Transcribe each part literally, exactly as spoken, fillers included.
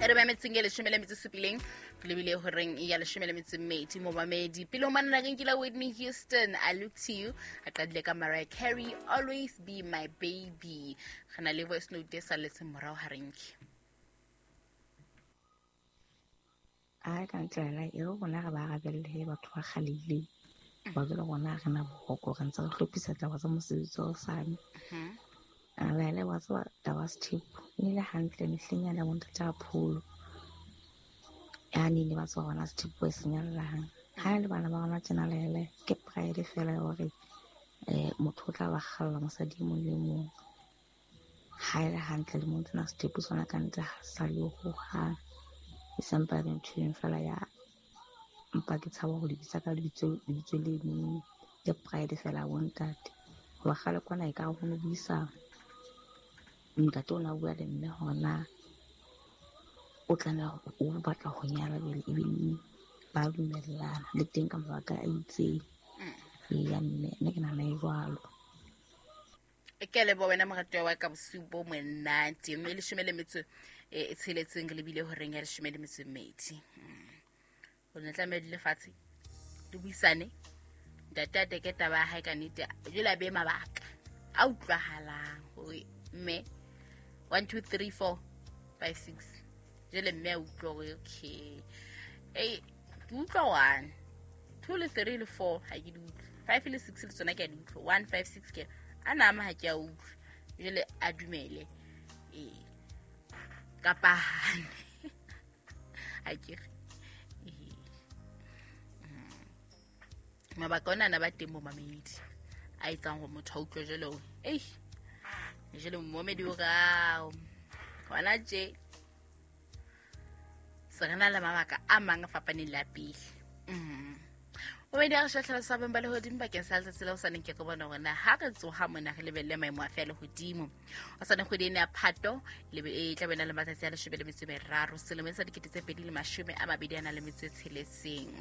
E re ba metseng e leshome le metso e supileng re lebile horeng ya leshome le metso e mmedi momamedi. Pele ho manna re nkile Whitney Houston, I Look to You, a qadile ka Mariah Carey, Always Be My Baby. Re na le voice note e salletseng morao ha re nke. A ka ntlela e re rona re ba arabelle batho ba kgalehileng. Ba jwale rona re na boroko re ntse re hlophisa taba tsa mosebetsi wa hosane. A laele wa tseba taba sethepu e ne le hantle mehleng yane ya bontate a pholo. Ya ne ba tseba hore na sethepu e senyallang. Ha e le bana ba rona tjena laele ke pride fela ya hore eh motho o tla ba kgalla mosadi e mong le mong. Ha e le hantle le mong tsena sethepu sona ka ntle ha sa le hohang. E sampa e ntho e fela ya mpa ke tshaba ho lebitsa ka lebitso lebitso le neng ke pride fela bontate. Hoba kgale kwana e ka ho no buisa ntate o na bua le mme hore na o tlameha o batla ho nyala jwale ebile ba dumellana le teng ka mabaka a itseng. Ya mme nna ke nahana e jwalo. Ke leboha wena moratuwa wa ka bosiu bo monate. Mme leshome le metso e tsheletseng re lebile horeng ya leshome le metso e mmedi. O ne tlameha dule fatshe le buisane. Ntate a teke taba ya hae ka nnete jwale a behe mabaka a utlwahalang hore mme one two three four five six jwale mme a utlwa hore okay ei ke utlwa one two le three le four ha ke di utlwe, five le six le tsona ke a di utlwa, one five six ke a nama ha ke a utlwe. Jwale a dumele ee kapa hane ha ke re mabaka ona ana ba teng bo mamedi a etsang hore motho a utlwe jwale hore ei jwale momedi o rao hona tje se re na le mabaka a mang a fapaneng le a pele. Momedi a re shahlela sa beng ba lehodimo bakeng sa letsatsi la hosane ke ke bona hore na ha re tsoha mona re lebelle maemo a fe a lehodimo. Hosane kgwedi ena ya Phato e tla be na le matsatsi a leshome le metso e meraro selemong sa dikete tse pedi le mashome a mabedi a nang le metso e tsheletseng.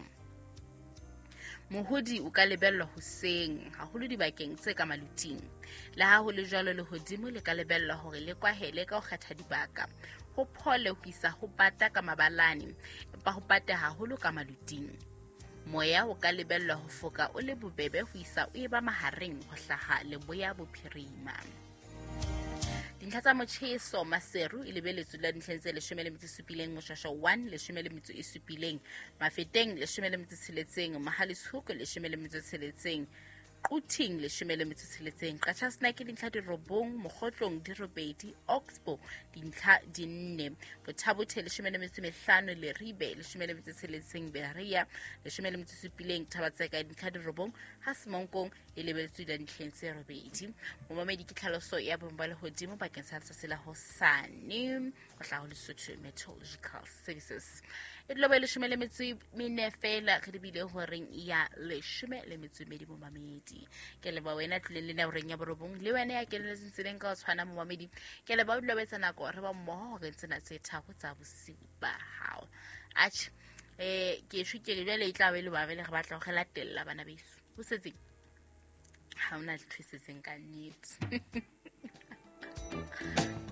Mohodi o ka lebellwa hoseng haholo dibakeng tse ka maluting. Le ha ho le jwalo lehodimo le ka lebellwa hore le kwahele ka ho kgetha dibaka. Ho phole ho isa ho bata ka mabalane, empa ho bate haholo ka maluting. Moya o ka lebellwa ho foka o le bobebe ho isa o eba mahareng ho hlaha leboya bophirima. Dintlha tsa motjheso Maseru e lebeletswe la dintlheng tse leshome le metso e supileng, Moshasha one leshome le metso e supileng, Mafeteng leshome le metso e tsheletseng, Mohale'shoek leshome le metso e tsheletseng, Quthing leshome le metso e tsheletseng, Qacha's Nek dintlha di robong, Mokgotlong di robedi, Oxbow dintlha di nne, Bothabothe leshome le metso e mehlano, Leribe leshome le metso e tsheletseng, Berea leshome le metso e supileng, Thabatseka dintlha di robong, ha Semonkong e lebeletswe la dintlheng tse robedi. Momamedi ke tlhaloso ya boemo ba lehodimo bakeng sa letsatsi la hosane ho hlaha ho Lesotho Meteorological Services. E dula bo leshome le metso e mene fela re lebile horeng ya leshome le metso e mmedi momamedi. Ke leboha wena tlileng le nna horeng ya borobong le wena ya kenelletseng tseleng ka ho tshwana momamedi. Ke leboha o dula o etsa nako re ba mmoho horeng tsena tse tharo tsa bosiu ba hao. Atjhe eh ke shwe ke re jwale e tla be le ba re batla ho re latella bana beso. Ho setseng ha hona letho e setseng ka nnete.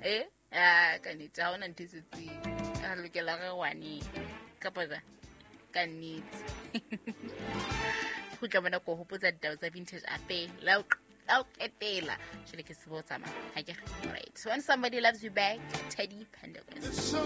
Eh ah ka nnete ha hona ntho e setseng. Re lokela re wane kapa jwang ka nnete. Kgutla mona ko hopotsa ditaba tsa Vintage Affair la o qetela jwale ke se bo tsamaya ha ke re. Right, when somebody loves you back, Teddy Pendergrass.